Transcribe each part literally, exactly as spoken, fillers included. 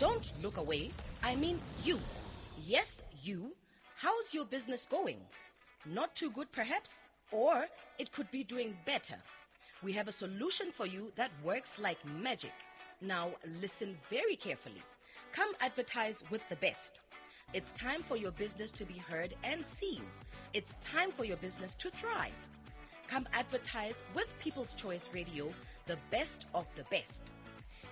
Don't look away. I mean you. Yes, you. How's your business going? Not too good, perhaps? Or it could be doing better. We have a solution for you that works like magic. Now, listen very carefully. Come advertise with the best. It's time for your business to be heard and seen. It's time for your business to thrive. Come advertise with People's Choice Radio, the best of the best.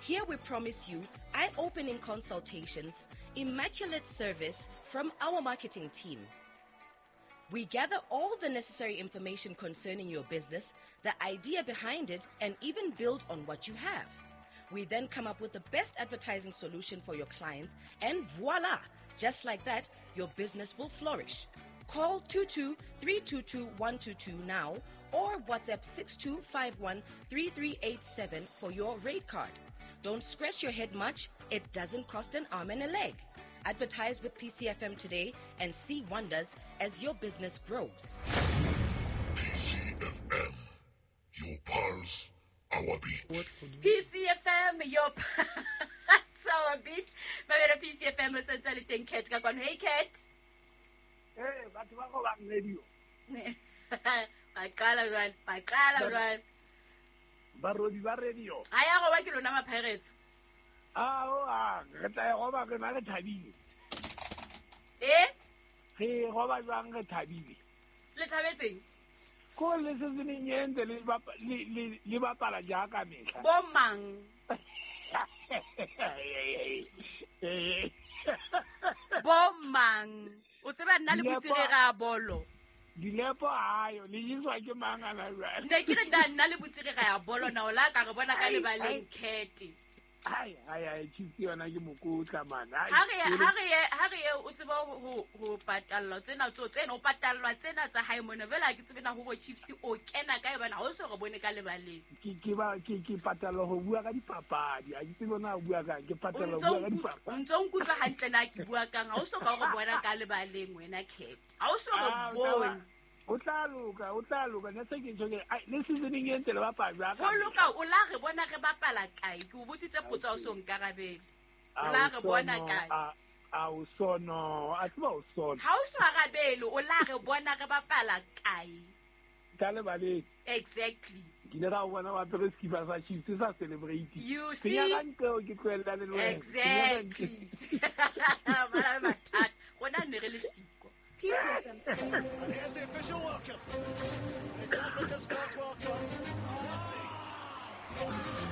Here we promise you eye-opening consultations, immaculate service from our marketing team. We gather all the necessary information concerning your business, the idea behind it, and even build on what you have. We then come up with the best advertising solution for your clients, and voila! Just like that, your business will flourish. Call two two three two two one two two now or WhatsApp six two five one three three eight seven for your rate card. Don't scratch your head much. It doesn't cost an arm and a leg. Advertise with P C F M today and see wonders as your business grows. P C F M, your pulse, our beat. P C F M, your pulse, our beat. Mamela P C F M, sentse le teng Cat ka kwano. Hey Cat. Hey, batho ba go bang radio. Ba qala jwale, ba qala jwale. Barodi ba radio. A ya go ba ke lona ma Pirates. Ah, o a re tla go ba re na re thabile. Eh? Re go ba jwang re thabile. Le thabetseng? Ko le se se neng entse le le le bapala jaaka mehla. Bo mang? Bo mang? O tseba nna le botsire ga bolo. Dilepo ayo le jiswa ke mang ana jwale. Ne ke re nna nna le botsire ga ya bolo na o la ka re bona ka lebaleng Cat. Ai ai ai Chiefs yona ke mokotla man. Ha re ha re ha re o tseba ho ho patallwa tsena tso tsena o patallwa tsena tsa hae mona vela ke tsebe na ho bo Chiefs o kena kae bana ha o so re bone ka lebaleng. Ke ke ba ke ke patallwa ho bua ka dipapadi. Ha ke tsebe na ho bua kang ke patallwa ho bua ka dipapadi. O ntso nkutlwa hantle na ke bua kang ha o so ka re bona ka lebaleng wena Cat. Ha o so re bone. O tla loka, o tla loka. Ne se ke tjho ke le seasoning e ntse le bapala jwang. Ho loka o la re bona re bapala kae? Ke o botsitse potso o so nkarabele. O la re bona kae? A o sono, a tseba o sono. Ha o so arabele, o la re bona re bapala kae? Ka lebaleng. Exactly. Ke ile ra bona ba apere sekipa sa Chiefs sa celebrate. You see? Ke nyaka nqeo ke tlohella le wena. Exactly. Ba la mathata. Rona ne re le siko. Here's the official welcome. It's Africa's first World Cup.